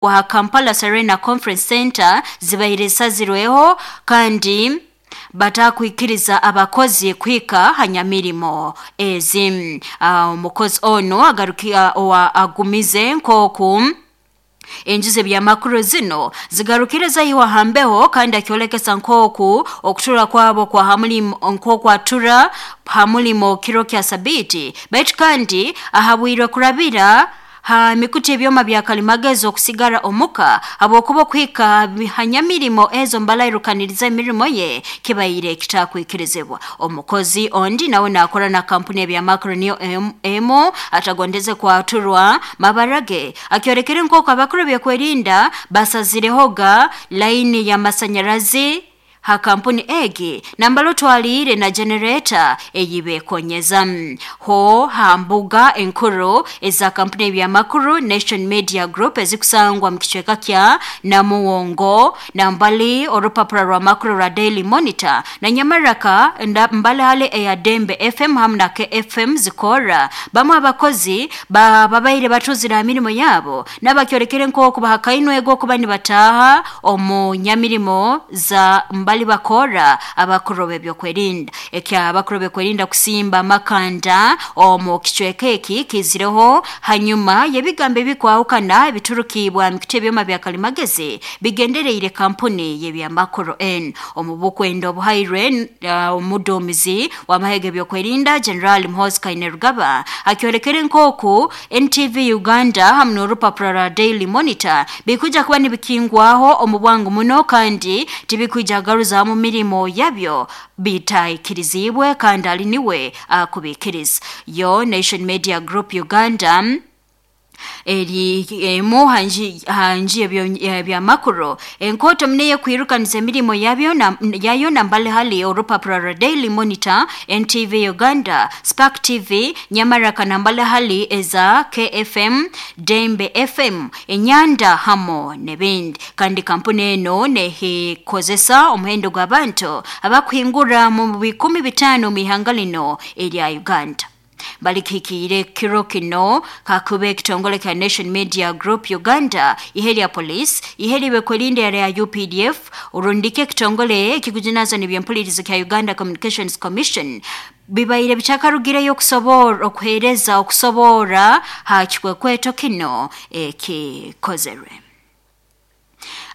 Wa Kampala Serena Conference Center zibaire zisazirweho kandi batakwikiriza abakozi kuhika hanyamirimo ezi. Omukozi ono agarukia owa agumize nkoku enju z'ebyamakuru zino zigarukire zaihwa hambeho, kandi akyolekesa nk'oku okutura kwabo kwa hamulimo nk'okwatura hamulimo kiro kya sabiti, baitu kandi ahabwirwe kurabira ha mikutu ebyoma bya kalimagezi okusigara omuka, habwokuba okuhika hanyamirimo ezo mbalairukaniriza emirimo ye kibaire kitakwikirizibwa. Omukozi ondi nawe nakora na kampuni ebyamakuru niyo emu atagondeze kwaturwa mabarage akyolekere nk'oku abakuru byokwerinda basazirehoga laini y'amasanyarazi ha kampuni egi nambalo twalire na generator eyibekonyeza ho ha mbuga enkuru eza kampuni ebyamakuru Nation Media Group ezikusangwa mu kicweka kya Namuwongo, nambali orupapura rwa makuru rwa Daily Monitor na Nyamaraka, mbali hale eya Dembe FM hamu na KFM zikora. Bamwe abakozi babaire batuzire ha mirimo yabo n'abakyolekere nk'oku bahakainwego okuba nibataha omu nyamirimo za mbali bakora abakuru b'ebyokwerinda. Ekya abakuru b'ekwerinda kusimba amakanda omu kicweka eki kizireho hanyuma y'ebigambo ebikwahukana ebiturukibwa mu ebyoma bya kalimagezi bigendereire kampuni y'ebyamakuru n omu bukwenda obuhairwe. Omuduumizi w'amahega ebyokwerinda, General Muhoozi Kainerugaba, akyolekere nk'oku NTV Uganda hamu n'orupapura rwa Daily Monitor bikuja kuba nibikingwaho omu bwangu muno kandi tibikwija kugaruzamu mirimo yabyo bitaikirizibwe kandi ali niwe akubikiriza. Yo Nation Media Group Uganda eri emu hanji hanji ebyamakuru enkoto muneye kwirukaniza emirimo yabyo na yayo, nambali hali orupapura rwa Daily Monitor, NTV Uganda, Spark TV, Nyamaraka, nambali hali eza KFM, Dembe FM, Enyanda hamo nebindi. Kandi kampuni eno nehikozesa omuhendo gw'abantu abakuhingura mu 5,000 mu ihanga lino erya Uganda. Balikhikiire kiro kino kakube ekitongole kya Nation Media Group Uganda, ihe lya police, ihe libekwerinda lya UPDF, orundike ekitongole ekikujinazo nibyempulirizo kya Uganda Communications Commission bibaire bikyakarugireyo okusobora okuhereza okusobora ha kikwekweto kino ekikozerwe.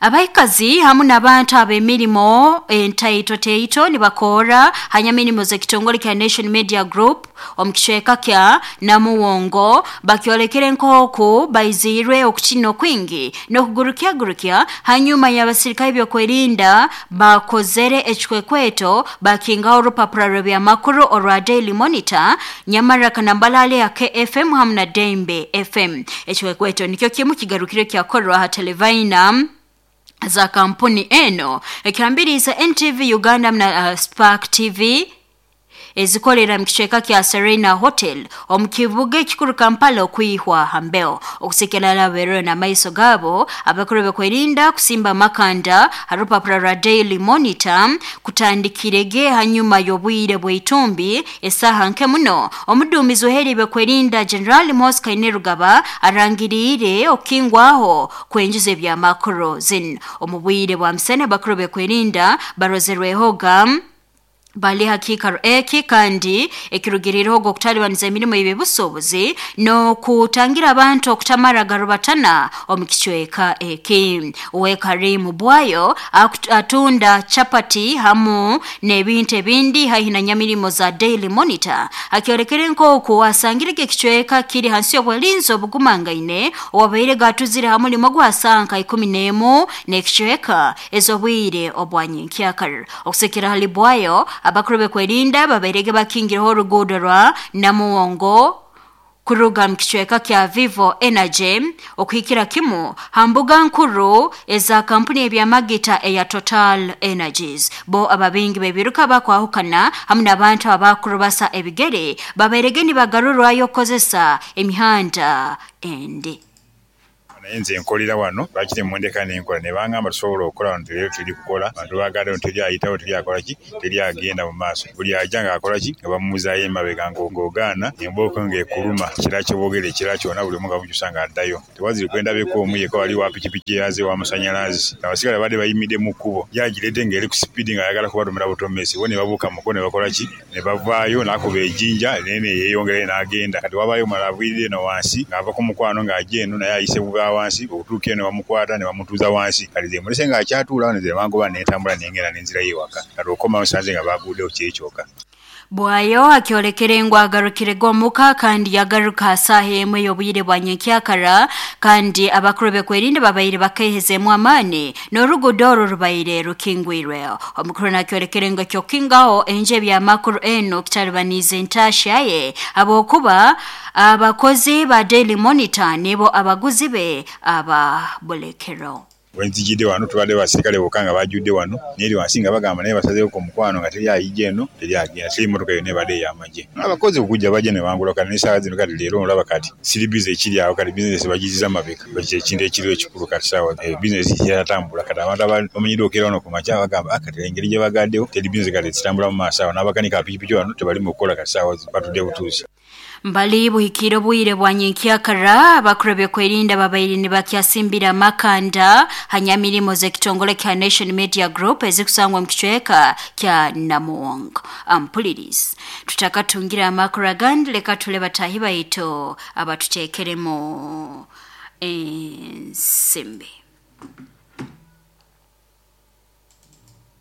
Abaikazi hamu n'abantu ab'emirimo entaito teito nibakora hanyamirimo z'ekitongole kya Nation Media Group omu kicweka kya Namuwongo bakyolekere nk'oku baizirwe okukina okwingi n'okugurukyagurukya hanyuma y'abasirikare byokwerinda bakozere ekikwekweto bakingaho orupapura rw'ebyamakuru orwa Daily Monitor, Nyamaraka, nambalale ya KFM hamu na Dembe FM. Ekikwekweto nikyo kimu kigarukire kyakorwa ha televaina za kampuni eno ekyambiriza NTV Uganda na Spark TV ezikolera mu kicweka kya Serena Hotel omu kibuga ekikuru Kampala okwihwa hambeo. Okusekerera berero n'amaiso gaabo abakuru bekwerinda kusimba amakanda harupapura rwa Daily Monitor kutandikirege hanyuma y'obwire bw'itumbi esaha nke muno. Omuduumizi w'eheri bekwerinda, General Muhoozi Kainerugaba, arangiriire okukingwaho kwenjuza ebyamakuru zino. Omu bwire bwa misana abakuru bekwerinda barozerwehoga bali hakikaro eki kandi ekirugirireho okutalibaniza emirimo y'ebibusuubuzi n'okutangira abantu okutamara garubatana omu kicweka eki. Owe Karimu Bwayo atunda chapati hamu n'ebintu ebindi haihi na nyamirimo za Daily Monitor akyolekere nk'oku asangirege ekicweka kiri hansi y'obwelinzi obugumangaine owabaire gatuzire ha mulimo gwasanka 11 n'ekicweka ez'obwire obwanyenkyakara. Okusekera hali Bwayo, abakuru bekwerinda babairege bakingireho oruguudo rwa Namuwongo kuruga mu kicweka kya Vivo Energy okuhikira kimu ha mbuga nkuru eza kampuni ebyamagita eya Total Energies. Bo ababingi bebiruka bakwahukana hamu n'abantu abakurubasa ebigere babairege nibagarurwayo okukozesa emihanda endi. Naye nze nkolera wano lwaki temundeka nenkola ne bangamba tusobola okukola wano leero teri kukola bantu bagadde teri ayitawo teri akola ki teri agenda mu maaso buli ajja ng'akola ki nga bamuzaayo emabega ng'ogaana embooko ng'ekuluma ekirala kyeboogera ekirala kyonna buli omu nga bamukyusa ng'addayo tewaziri kwendabeko omu yekka wali wa pikipiki eyaze ow'amasannyalaze abasigala badde bayimiridde mu kkubo yagireete ng'eri ku sipiidi ng'ayagala kubatomera butomesi bo ne babuuka mu kkubo ne bakola ki ne bavaayo n'akuba ejjinja naye ne yeeyongerayo n'agenda kati wabaayo omulala aviiridde eno wansi ng'ava ku mukwano ng'ajja eno naye ayise buva wansi okutuuka eno bamukwata ne bamutuuza wansi kati ze mulese ng'akyatuula awo nze bangoba ne ntambula ne ngenda ne nzirayo ewaka kati okukomawo nsanze nga baaguddewo kiri kyokka. Bwayo akyolekere ngu agarukire omuka kandi yagaruka saaha emwe y'obwire bwa nyenkyakara kandi abakuru bekwerinda babaire bakehezemu amaani n'oruguudo orwo rubaire rukingwirwe. Omukuru nakyolekere ngu ekyokukingaho enju ebyamakuru enu kitaribaniize entasya ye habwokuba abakozi ba Daily Monitor nibo abaguzi be aba bulekero. Wenzijidde wano tubadde basirikale bokka nga bajjudde wano n'eri wansi nga bagamba naye basazeewo ku mukwano nga teri ayijja eno teri agenda teri mmotoka yonna ebadde ey'amagye. Abakozi okujja bajja ne bangula kati n'essaawa zino kati leero olaba kati siri bize ekiri awo kati bizinesi bagizizza mabega ekyo ekintu ekiriwo ekikulu kati ssaawa bizinesi tekyatambula kati abantu abamanyidde okukeera wano ku makya bagamba kati engeri gye bagaddewo teri bizinesi kati zitambula mu maaso awo n'abakanika pikipiki wano tebali mu kukola kati ssaawa zino batudde butuuzi. Mbali buhikire obwire bwa nyenkyakara abakuru bekwerinda babaire nibakyasimbira amakanda hanyamirimo z'ekitongole kya Nation Media Group ezikusangwa mu kicweka kya Namuwongo. Ampulirizi tutakatungira amakuru agandi leka tule batahi baitu abatuteekeremu ensimbi.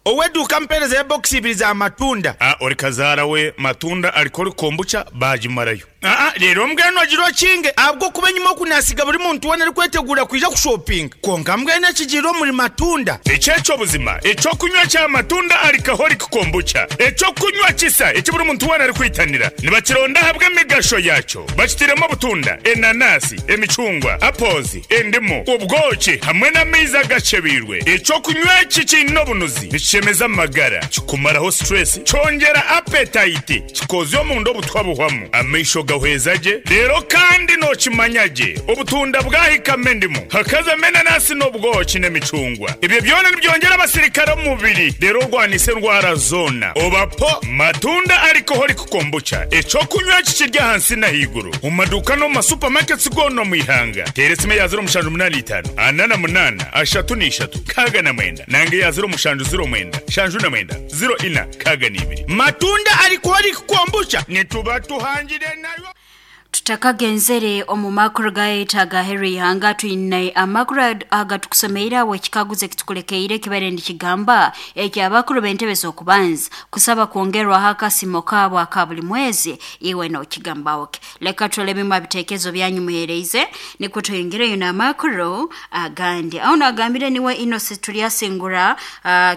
Ow'eduuka mpeereza ya bokisi ibiri za matunda. A Ori kazaara we matunda arikora kombucha baagimarayo. Aa Reero mbwenu ogira okinge ahabw'okuba enyima oku naasiga buri muntu weena arikweteguura kwija kushopinga. Kwonka mbwenu ekigiire omuri matunda. Ekyekyo buzima, ekyokunywa kya matunda alcoholic kombucha. Ekyokunywa kisa eki buri muntu weena arikwitanira. Nibakironda ahabw'emigasho yaakyo. Bakitiremu obutunda, enanasi, emicungwa, apples, endimu, obwoki hamwe n'amaizi agakyebiirwe. Ekyokunywa eki kiine obunuzi, nikishemeza amagara, kikumaraho stress, kyongyera appetite, kikozya omunda obutwa buhwamu, amaisho gahweza gye, reero kandi nookimanya gye, obutunda bwahikamu endimu, hakazamu enanasi n'obwoki n'emicungwa. Ebyo byona nibyongyera abasirikare omu mubiri, reero orwanisa endwara zoona. Obapo matunda alcoholic kombucha, ekyokunywa eki kiri ahansi n'ahaiguru, omu maduuka n'omu masupamaketi goona omu ihanga. Teera esimu eya 0785 48 33 69 nanga eya 0709 79 04 62. Matunda alcoholic kombucha nituba tuhangire nayo. Tutakagenzere omu makuru gaitu agaheru ihanga twine amakuru agatukusomeire aho ekikaguzo ekitukulekeire kibaire nikigamba eki abakuru b'entebe z'okubanza kusaba kwongerwaho akasimo kaabo aka buli mwezi iwe n'okigambaho ki. Leka turole bimu bitekerezo byanyu muhereize nikwo tuyongereyo n'amakuru agandi. Aho nagambire niwe Innocent Turyasingura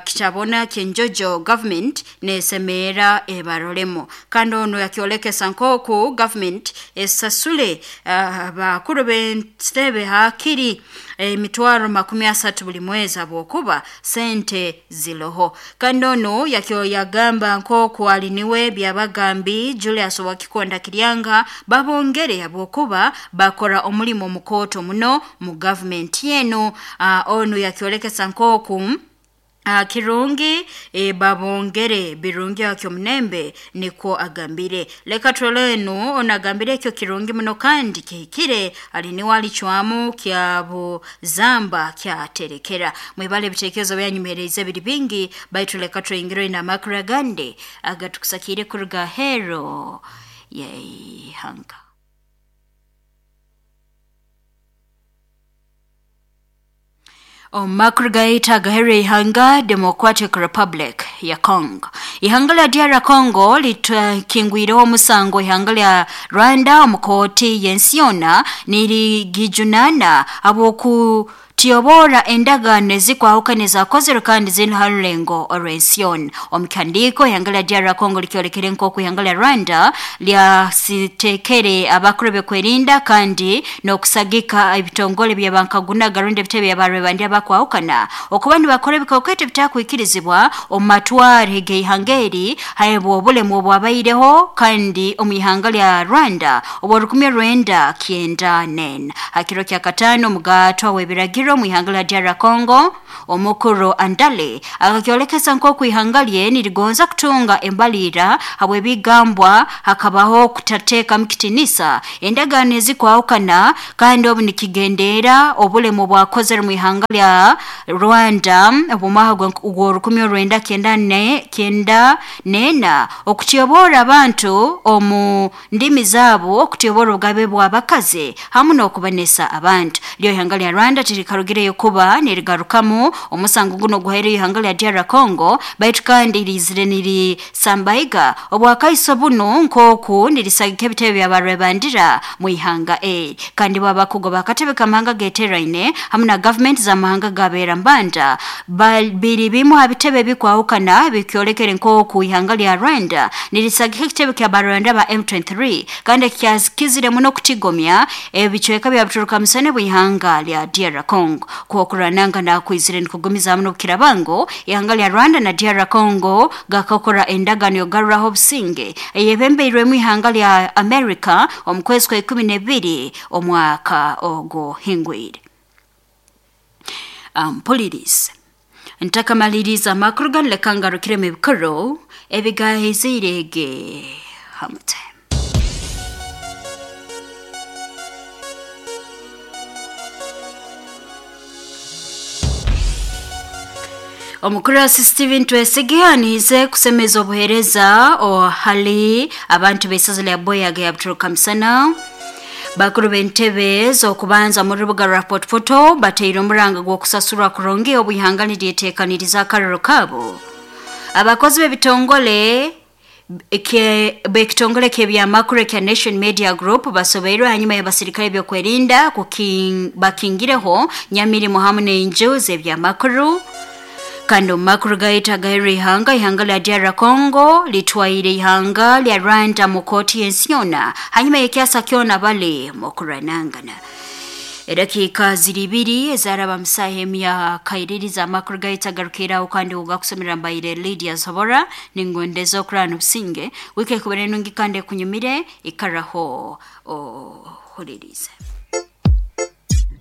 kitabona kyenjojo government nesemeera ebarolemo kandi ono yakyolekesa nk'oku government esasule abakuru b'entebe hakiri emitwaro 30 buli mwezi habwokuba sente ziloho. Kandi ono yakyo yagamba nk'oku aliniwe byabagambi Julius Wakikonda Kiryanga babongere habwokuba bakora omulimu mukooto muno mu government yenu. Ono yakyolekesa nk'oku kirungi babongere birungi akyo munembe nikwo agambire. Leka turole enu ono agambire ekyo kirungi muno kandi kihikire aliniwe alicwamu kya buzamba kyaterekera. Mwebale ebitekerezo byanyu muhereize biri bingi baitu leka tuyingire n'amakuru agandi agatukusakire kuruga hero yeihanga. Omakuru gaitu agaheru ihanga Democratic Republic ya Congo. Ihanga lya DR Congo litakingwireho omusango ihanga lya Rwanda omu kooti y'ensi yoona nirigijunana habwoku Tyoboora endagaano ezikwahukana ezakozerwe kandi ziri ha rulengo orw'ensi yoona. Omu kihandiiko, ihanga lya DR Congo likyolekere nk'oku ihanga lya Rwanda lyasitekere abakuru b'okwerinda kandi n'okusagika ebitongole by'abankagunaga rundi ebitebe by'abarwebandi abakwahukana okuba nibakora ebikokete bitakwikirizibwa omu matware g'ihanga eri haebwa obulemu obwabaireho kandi omu ihanga lya Rwanda obwa 1994. Ha kiro kya kataano, omugatwa w'ebiragiro mu ihanga lya DR Congo omukuru Andale akakyolekesa nk'oku ihanga lye nirigonza kutunga embalira habw'ebigambwa hakabaho kutateekamu kitinisa endagaano ezikwahukana kandi obu nikigendeera obulemu obwakozere mu ihanga lya Rwanda obw'omwaka gwa 1994 okutyobora abantu omu ndimi zaabo, okutyobora obugabe bw'abakazi hamu n'okubanisa abantu. Lyo ihanga lya Rwanda tirikarugireyo kuba nirigarukamu omusango guno oguhaire ihanga lya DR Congo, baitu kandi rizire nirisambayiga obwakaiso bunu nk'oku nirisagika ebitebe by'abarwebandira mu ihanga eri. Kandi bo abakugu b'akatebe k'amahanga geeteraine hamu na gavumenti z'amahanga gabeera mbanda biri bimu ha bitebe ebikwahukana bikyolekere nk'oku ihanga lya Rwanda nirisagika ekitebe ky'abarwanda ba M23 kandi kyakizire muno kutigomya ebicweka bya buturuka musana bw'ihanga lya DR Congo. Kwokurananga nakwizire nikugumiza muno kirabango ihanga lya Rwanda na DR Congo gakakora endagaano yogaruraho obusinge eyebembeirwemu ihanga lya America omu kwezi kwa 12 omwaka oguhingwire. Mpulirize ntakamaliriza amakuru ganu, leka ngarukiremu ebikuru ebigahiziirege hamute. Omukurasi Steven Twesige aniize kusemeza obuheereza hali abantu b'eisaza lya Boyaga ya Buturuka Musana. Bakuru b'entebe z'okubanza mu rubuga rwa Fort Portal bateire omuranga gw'okusasurwa kurungi obu ihanga niryeteekaniriza akararo kaabo. Abakozi b'ebitongole b'ekitongole ky'ebyamakuru ekya Nation Media Group basobeirwe hanyuma y'abasirikale b'okwerinda bakingireho nyamirimo hamu n'enju z'ebyamakuru. Kandi omu makuru gaitu agaheru ihanga lya DR Congo litwaire ihanga lya Rwanda mu kooti y'ensi yoona hanyuma y'ekyasa kyona bali mu kuranangana. Edakiika ziri ibiri ezaraba mu saaha emu ya kaiririza amakuru gaitu agarukiraho kandi ogakusomera mbaire Lydia Sobora ningondeza okurana obusinge wiiki ekubere enungi kandi ekunyumire ikaraho ohulirize.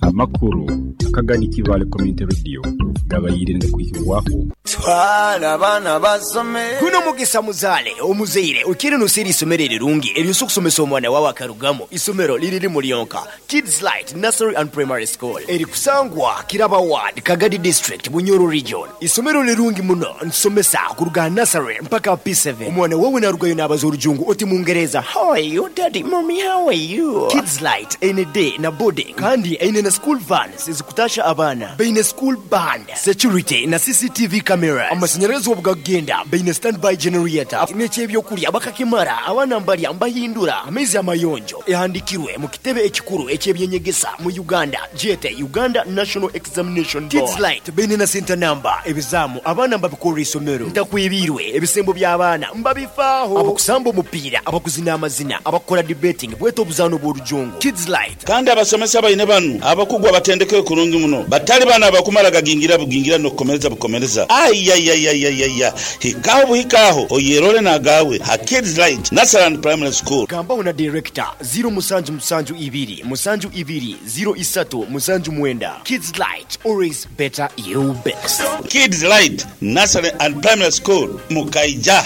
Amakuru akagani Kibale Community Radio gabayire ngakwihirwaho. Twala abaana basome. Guno mugisa muzaale omuzaire okire nosera isomero erirungi eryosa okusomesa omwana wawe akarugamu. Isomero liri limu lyonka, Kids Light Nursery and Primary School, erikusangwa Kiraba Ward, Kagadi District, Bunyoro Region. Isomero lirungi muno, nsomesa kuruga nursery mpaka P7. Omwana wawe narugayo nabaza orujungu oti Mungereza, how are you daddy, mommy, how are you? Kids Light eine day na boarding kandi eine na school vans ezikutasha abaana, baine school band, security na CCTV cameras, amashanyarazi obugagenda, baine standby generator n'ekyebyokulya bakakimara, abaana mbalya mbahindura, amaizi amayonjo. Ehandikirwe mu kitebe ekikuru ekyebyenyegesa mu Uganda, jete Uganda National Examination Board. Kids Light baine na center number, ebizamu abaana mbabikorera isomero, ntakwibirwe ebisembo by'abaana mbabifaaho, abakusamba omupiira, abakuzina amazina, abakora debating, bweta obuzaano bw'orujungu. Kids Light. Kandi abasomesa baine banu abakugwa batendeke kurungi muno, batali bana abakumara gagingira bugingira n'okukomereza bukomereza. Ayayayayaya, hikaho buhikaho oyerole nagawe ha Kids Light Nursery and Primary School. Gambaho na director 0 musanju musanju ibiri musanju ibiri 0 isatu musanju mwenda. Kids Light, always better you best. Kids Light Nursery and Primary School Mukaija.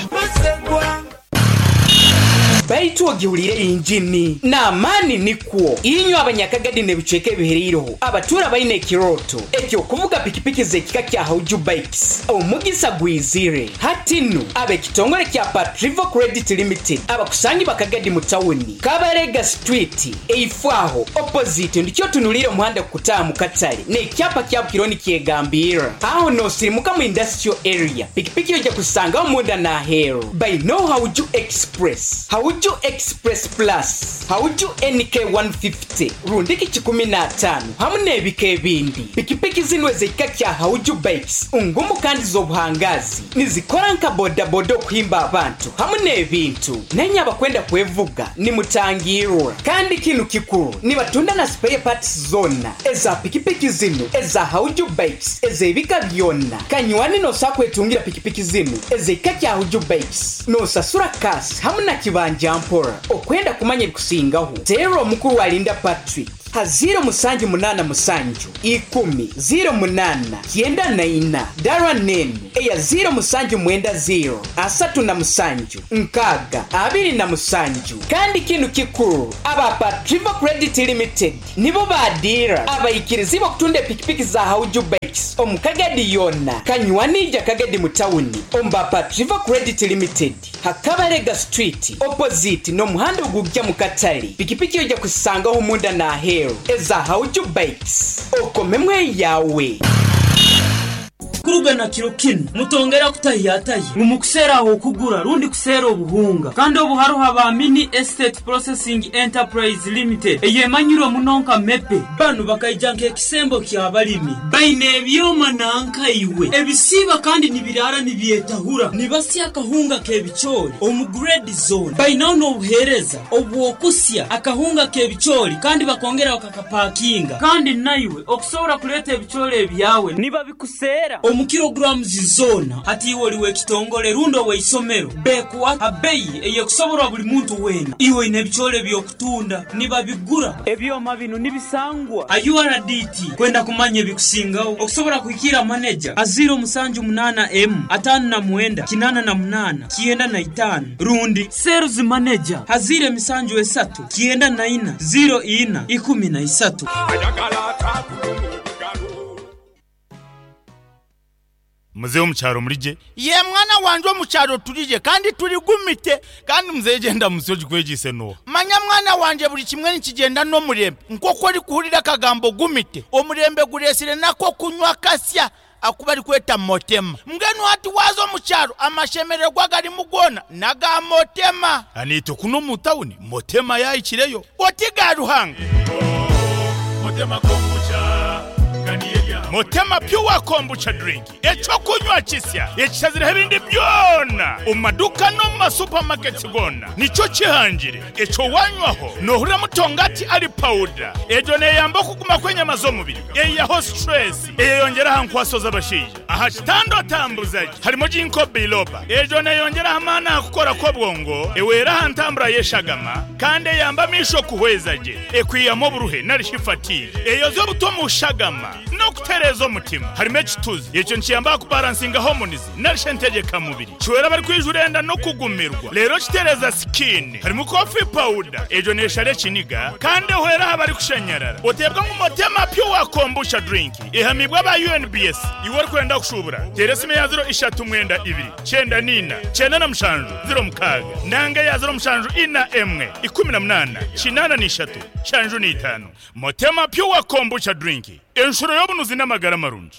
Baitu ogiwulire injini n'amaani nikwo inywe abanyakagadi n'ebicweka ebihereireho abatura baine ekiroto ekyokuvuga pikipiki z'ekika kya Hauju Bikes omugisa gwizire hati nnu ab'ekitongole kya Patrivo Credit Limited abakusangi bakagadi mu tawuni Kabarega Street eifwaho opposite ndikyo tunulire omuhanda kukutaaha mu katale n'ekyapa kya Bukironi kyegambira aho nosirimuka mu industrial area pikipiki ojja kusangaho munda n'aheeru by no Hauju Express Hauju. Hauju Express Plus, Hauju NK 150 rundiki 150 hamu n'ebika ebindi. Pikipiki zinu ez'ekika kya Hauju Bikes ngumu kandi z'obuhangazi. Nizikora nka bodaboda okuhimba abantu hamu n'ebintu. Nainywe abakwenda kwevuga nimutangirwa. Kandi kinu kikuru, nibatunda na spare parts zoona eza pikipiki zinu eza Hauju Bikes ez'ebika byona. Kanywani nosobola kwetungira pikipiki zinu ez'ekika kya Hauju Bikes nosasura cash hamu na kibanja mpora. Okwenda kumanya ebikusingaho, teera omukuru Alinda Patrick ha ziiro musanju munaana musanju, ikumi, ziiro munaana, kyenda na ina. Dara n'enu eya ziiro musanju mwenda ziiro, 37, 60, 27. Kandi kinu kikuru, aba Patrivo Credit Limited nibo ba diira abaikirizibwa okutunda epikipiki za Hauju Bikes omu Kagadi yoona. Kanywani ija Kagadi mu tawuni omu ba Patrivo Credit Limited ha Kabalega Street opposite n'omuhanda ogugya mu katale. Pikipiki oija kuzisangaho munda n'aheeru eza Hauju Bikes. Okomemu eyawe. Kuruga na kiro kinu, mutongera kutahiyatahya ngu mukuseera ah'okugura rundi kuseera obuhunga. Kandi obu haroho aba Mini Estate Processing Enterprise Limited eyemanyirwe muno nka MEPE. Banu bakaija nk'ekisembo ky'abalimi. Baine ebyoma nanka iwe ebisiiba kandi nibiraara nibyetahura, nibasya akahunga k'ebicoori omu grade zoona. Bainaho n'obuheereza obw'okusya akahunga k'ebicoori kandi bakongera bakakapakinga. Kandi naiwe okusobora kuleeta ebicoori ebyawe nibabikuseera omu kilograms zoona. Hati iwe oli w'ekitongole rundi ow'eisomero, bekuha ha beyi ey'ekusoborwa buli muntu weena. Iwe oine ebicoori eby'okutunda, nibabigura. Ebyoma binu nibisangwa ha URDT. Kwenda kumanya ebikusingaho, okusobora kuhikiira maneja ha 078 emu 59 88 95 rundi Sales Manager ha 073 94 04 13. Muzei omu kyaro muri gye? Yee mwana wangye omu kyaro turi gye kandi turi gumite. Kandi muzei gye ndamutsyo ogikwegyeise n'oha? Manya mwana wangye buri kimwe nikigyenda n'omurembe. Nk'oku orikuhurira akagambo gumite, omurembe gureetsire n'ak'okunywa akasya aku barikweta Motema. Mbwenu hati waaza omu kyaro amashemererwa agarimu goona n'aga Motema. Naitwe kunu omu tawuni Motema yaahikireyo. Oti ga Ruhanga. Motema Pure Kombucha Drink, eky'okunywa kisya ekishazireho ebindi byona omu maduuka n'omu ma supermarkets goona nikyo kihangire. Ekyo wanywaho nohuriramu tongati ali powder. Egyo neyamba okuguma kw'enyama z'omubiri, eyihaho stress, eyeyongyera aha nkwaso z'abashaija. Aha kitanda otambuza gye harimu Ginkgo biloba. Egyo neyongyera aha maani aha kukora kw'obwongo, ehwera aha ntambura y'eshagama kandi eyamba amaisho kuhweza gye. Ekwihamu oburuhe nari shi fatigue. Eyozya obutwa omu shagama n'okutereeza omutima. Harimu ekituzi. Ekyo nikiyamba aha kubaransinga hormones nari shi entegyeka mubiri. Kihwera abarikwijura enda n'okugumirwa. Reero kitereeza skin. Harimu coffee powder. Egyo neeshara ekiniga kandi ehwera aha barikushanyarara. Oteebwa ngu Motema Pure Kombucha Drink ehamiibwe aba UNBS. Iwe orikwenda kushuubura, teera esimu eya ziro ishatu mwenda ibiri, kyenda na ina, kyenda na mushanju, ziro mukaaga, nanga eya ziro mushanju ina emwe, ikumi na munaana, kinaana na ishatu, nshanju na itaano. Motema Pure Kombucha Drink, enshuro y'obunuzi n'amagara marungi.